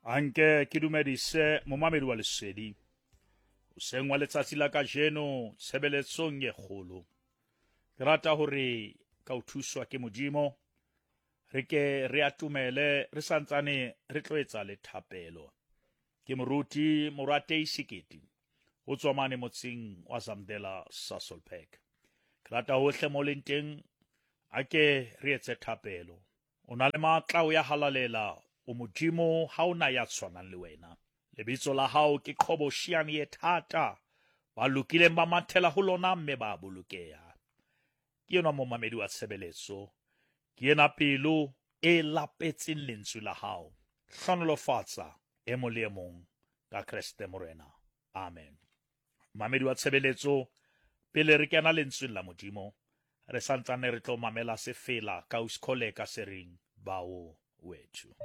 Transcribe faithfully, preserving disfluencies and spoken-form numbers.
Anke ke dumedise momamedi wa Lesedi hoseng wa letsatsi la kajeno tshebeletsong e kgolo. Ke rata hore ka ho thuswa ke Modimo re ke re atomele re santsane re tlo etsa le thapelo. Ke moruti Moratei Sekete ho tswa mane motseng wa Zamdela, Sasolburg. Ke rata hohle mo leng teng a ke re etse thapelo. O na le matla o ya halalela, o Modimo ha o na ya tshwanang le wena. Lebitso la hao ke qhobosheane e thata, ba lokileng ba mathela ho lona mme ba bolokeha. Ke enwa momamedi wa tshebeletso, ke ena pelo e lapetseng lentswe la hao. Hlohonolofatsa e mong le e mong ka Kreste Morena. Amen. Mamedi wa tshebeletso, pele re kena lentsweng la Modimo, re santsane re tlo mamela sefela ka Uskholeka se reng Bawo Wethu.